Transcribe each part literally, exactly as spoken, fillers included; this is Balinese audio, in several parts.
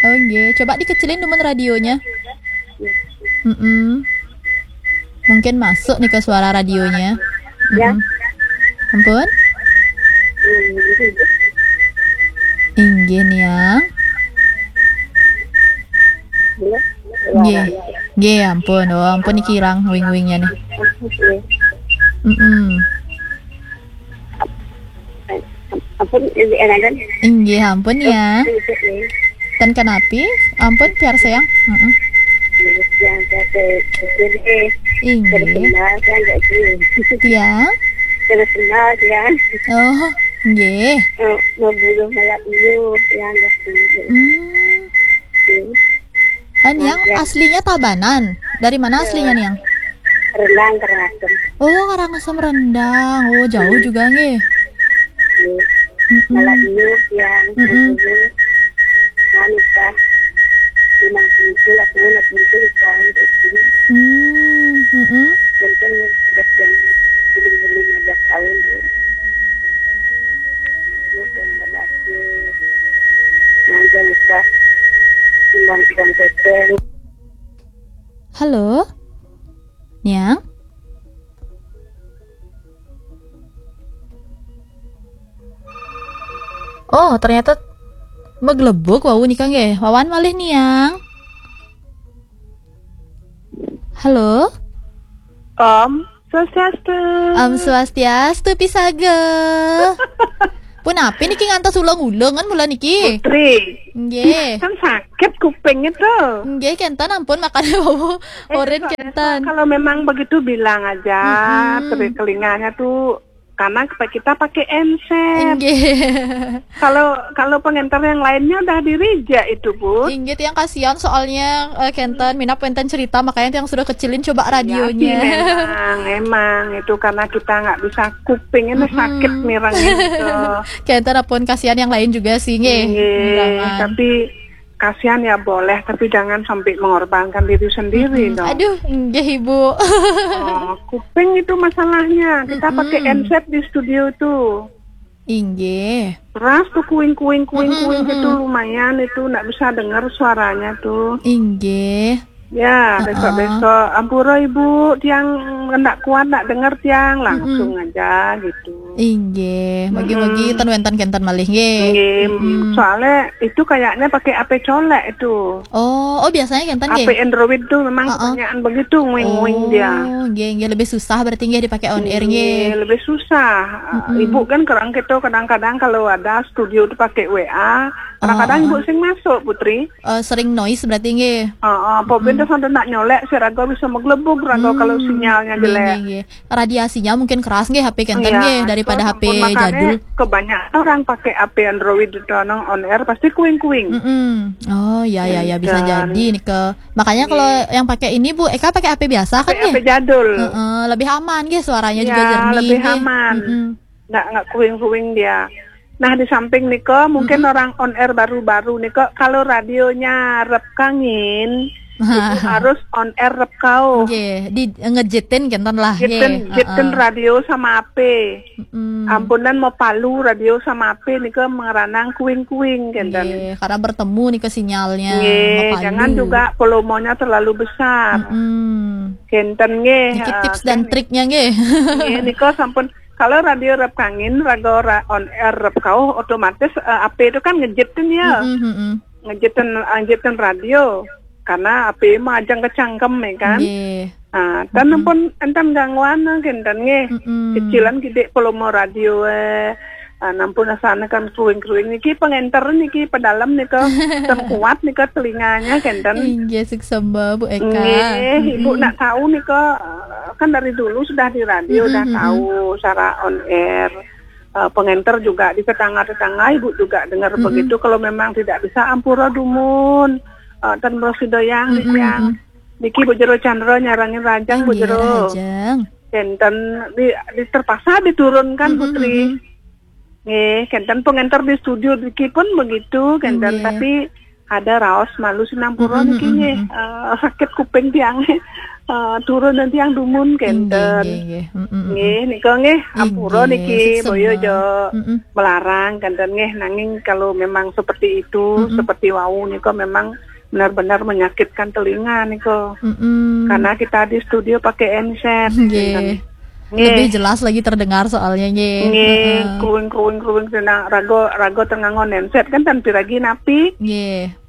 Oh, nggih. Coba dikecilin dumun radionya. Mm-mm. Mungkin masuk nih ke suara radionya. Ya. Mm-mm. Ampun? Hmm, gitu. Inggih, Niang. Iya. Nggih. Nggih, ampun. Oh, ampun iki kirang wing-wingnya nih. Oke. Mm-mm. Ampun, ini enakan. Inggih, ampun ya. Sedikit nih. Ten kenapi? Ampun, piarsayang. Mm-mm. Yang saya pikir eh, Inggih. terkenal kan nggak sih? Tiang? Terkenal kan. Oh, nggih. Eh, Mau bulu malam ini yang nggak sih? Hmm. Hmm. Ah, Niang aslinya Tabanan. Dari mana aslinya, Niang? Rendang Karangasem. Oh, Karangasem Rendang. Oh, jauh juga nggih. Hmm. Mm-mm. Malam ini yang Mm-mm. ini wanita lima puluh lah, lima puluh kan. Hmm, mm-mm. Mungkin sudah yang lima belas tahun ya. Dia sudah berhasil. Nah, dia lupa. Timbang-timbang teteng. Halo? Niang? Oh, ternyata meglebuk wau nika nggih. Wawan malih, Niang. Halo? Om Swastiastu. Om Swastiastu, Pisaga. Punapi niki ngantos uleng-uleng kan mula niki? Putri. Nggih. Kan sakit kupingnya tuh. Nggih, kenten ampun makane wau. Eh, Oren besok-besok kenten. Kalau memang begitu bilang aja, Mm-mm. teri- telinganya tuh karena kita pakai enset. Nggih. Kalau kalau pengenter yang lainnya udah dirijek itu, Bu. Inggih, yang kasihan soalnya eh, kenten minap wenten cerita, makanya yang sudah kecilin coba Ya, sih, radionya. memang, emang itu karena kita nggak bisa kuping ini Mm-mm. sakit mireng itu. Kenten ampun, kasihan yang lain juga sih nggih. Nggih, Bilangan. Tapi kasihan ya boleh, tapi jangan sampai mengorbankan diri sendiri Mm-mm. dong. Aduh, nggih Ibu. Oh, kuping itu masalahnya. Kita Mm-mm. Pakai enset di studio tuh. Inggih. Keras tuh kuing kuing kuing Mm-mm, kuing gitu, mm-mm. Lumayan itu nggak bisa dengar suaranya tuh. Inggih. Ya, Heeh. Besok-besok ampura Ibu, tiang ndak kuat ndak dengar tiang, langsung aja gitu. Inggih, mugi-mugi ten wenten kenten malih nggih. Nggih, Mm-mm. Soalnya itu kayaknya pakai A P colek itu. Oh, oh biasanya kenten A P nggih. Android tuh memang Heeh. kebanyakan begitu nguing-nguing dia. Oh, nggih nggih, lebih susah berarti nggih dipakai on air nggih. Lebih susah. Mm-mm. Ibu kan kerang kita kadang-kadang kalau ada studio tuh pakai W A, kadang-kadang Oh, Ibu sing masuk, Putri. Eh, sering noise berarti nggih. Heeh, apa benda sampai nak nyolek, si raga bisa meglebug raga kalau sinyalnya Nggih, jelek. Nggih, nggih. Radiasinya mungkin keras nggih H P kenten Iya, nggih daripada itu H P ampun, makanya jadul. Kebanyakan orang pakai A P Android itu nang on air pasti kuing-kuing. Mm-mm. Oh ya ya ya, bisa Enten. Jadi nih ke, makanya kalau yang pakai ini Bu Eka pakai H P biasa kan Pakai A P nggih? jadul. Heeh, lebih aman nggih, suaranya juga Ya, jernih lebih nggih. Aman. Mm-mm. Nggak nggak kuing-kuing dia. Nah, di samping niko mungkin orang on air baru-baru niko, kalau radionya rep kangin itu harus on air rep kau. Nggih, di ngejitin kenten lah nggih. Jiten, jiten Heeh. Radio sama A P. Mm-mm. Ampunan mau palu radio sama A P niko mengeranang kuing-kuing kenten. Nggih, karena bertemu nih ke sinyalnya. Nggih, Mapalu. Jangan juga volumenya terlalu besar. Mm-mm. Kenten nggih. Niki eh, tips dan kan triknya nggih. Nggih, niko sampun. Kalau radio rep kangin, radio ra- on air rep kau, otomatis eh, A P itu kan ngejitin ya. Mm-mm, mm-mm. Ngejitin ngejitin radio. Karena A P mah ajang kecangkem ya kan. Nggih. Nah, dan pun enten gangguan kenten nggih. Mm-mm. Kecilan gede volume radio eh. Ah, nampun asana kan kruing-kruing niki pengenter niki pedalem nika, ten kuat nika telinganya kenten. Inggih, suksema Bu Eka. Nggih, Ibu Mm-mm. Nak tahu nika, eh, kan dari dulu sudah di radio Mm-mm, udah mm-mm. Tahu cara on air. Eh, pengenter juga di tetangga-tetangga Ibu juga dengar Mm-mm. Begitu. Kalau memang tidak bisa ampura dumun. Eh, ten bersidoyang Mm-mm, yang mm-mm. Niki Bu Jero Chandra nyarangin rajang Bu Inggih, Jero. Rajang. Kenten di, di terpaksa diturunkan Mm-mm, Putri. Mm-mm. Nggih, kenten pengenter di studio niki pun begitu, kenten Nggih. Tapi Ada raos malu sinampura niki nggih. Eh, sakit kuping tiang. Eh, turun nanti yang dumun kenten. Nggih, nggih, nggih. Mm, mm, mm. Nggih, nika nggih, ampura niki, boyo jo melarang kenten nggih, nanging kalau memang seperti itu, seperti wau nika memang benar-benar menyakitkan telinga nika. Mm-mm. Karena kita di studio pakai headset. Nggih. Kenten. Nggih. Lebih jelas lagi terdengar soalnya, nggih. Nggih, heeh. Kruing, kruing, kruing, kena rago, rago tengah ngon headset kan, tan piragi napi. Nggih.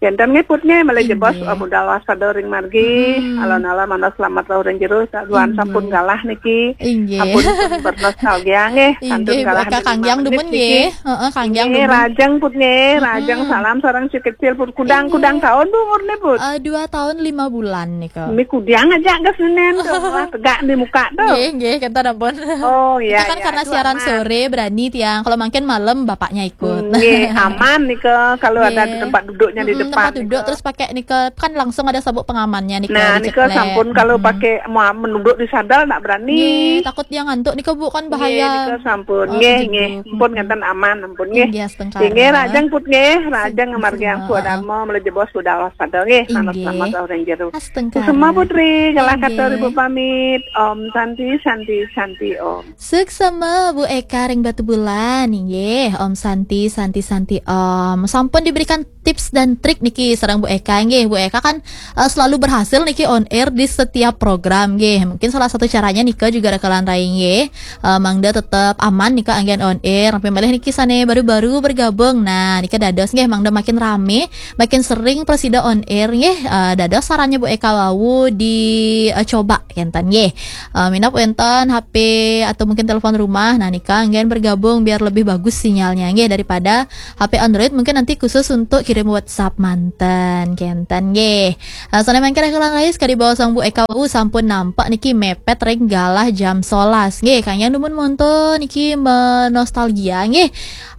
Kenten nggih put nggih, malih jebos, inggih, budal waspada ring margi, alon-alon manah selamat rauh ring jero, saduan sampun galah niki. Inggih. Ampun, pun bernostalgia nggih, kantun inggih, galah Bu Eka, dari kanggiang lima dumun menit niki. Nggih. Heeh, kanggiang nggih, dumun. Rajeng put nggih, rajeng salam sareng si kecil put. Kudang, kudang taun Bu umurne put? Eh, dua tahun lima bulan nika. Ini kudiang aja gas nenen tuh, wah, tegak di muka tuh. Nggih, nggih, kenten ampun. Oh, iya, kan iya, karena siaran sore, berani tiang. Kalau mangkin malam bapaknya ikut. Nggih, aman nika kalau ada di tempat duduknya di depan. Tempat duduk nika. Terus pakai nika kan langsung ada sabuk pengamannya nika. Nah, nika diceklek. Sampun kalau pakai mau menunduk di sandal ndak berani. Nggih, takut dia ngantuk nika Bu, kan bahaya. Nggih, nika sampun. Oh, nggih, nggih. Ampun ngenten aman, ampun nggih. Inggih, astungkara. Nggih, rajeng put nggih, rajeng margi yang suadharma, malih jebos budal waspada nggih. Inggih. Selamat, selamat rauh ring jero. Astungkara. Kusuma Putri, galah katur ibu pamit. Om Santi, Santi, Santi Om. Suksma Bu Eka ring Batubulan, inggih. Om Santi, Santi, Santi Om. Sampun diberikan tips dan trik niki sareng Bu Eka, nggih. Bu Eka kan, eh, selalu berhasil niki on air di setiap program, nggih. Mungkin salah satu caranya nika juga rekan-rekan rai, nggih. Eh, mangda tetap aman nika anggen on air. Napi malih niki sane baru-baru bergabung. Nah, nika dados nggih, mangda makin rame, makin sering prasida on air, nggih. Eh, dados sarannya Bu Eka wau di, eh, coba kenten, nggih. Eh, minab wenten H P atau mungkin telepon rumah, nah nika anggen bergabung biar lebih bagus sinyalnya, nggih, daripada H P Android mungkin nanti khusus untuk kirim WhatsApp manten, kenten, nggih. Eh, sane mangkin rekan-rekan rai, kadi bawasang Bu Eka wau sampun nampak niki mepet ring galah jam solas. Nggih, kanggiang dumun monto niki menostalgia, nggih.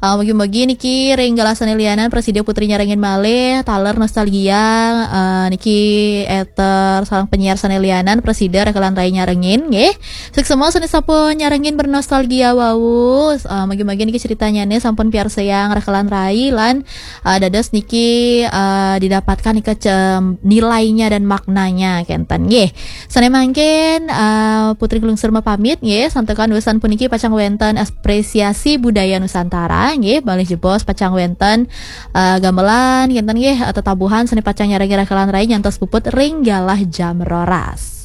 Eh, mugi-mugi niki ring galah sane lianan prasida Putri nyarengin malih taler nostalgia, eh, niki eter sareng penyiar sane lianan prasida rekan-rekan rai nyarengin, nggih. Suksma sane sampun nyarengin bernostalgia wau. Eh, mugi-mugi niki critanyane sampun piarsayang rekan-rekan rai lan, eh, dados niki, eh, didapatkan nika cem-, nilainya dan maknanya kenten, nggih. Sane mangkin, eh, Putri Glungsur mapamit, nggih. Santukan wesan puniki pacang wenten apresiasi budaya Nusantara, nggih. Malih jebos pacang wenten, eh, gamelan kenten, nggih, eh, tetabuhan sane pacang nyarengin rekan-rekan rai nyantos puput ring galah jam roras.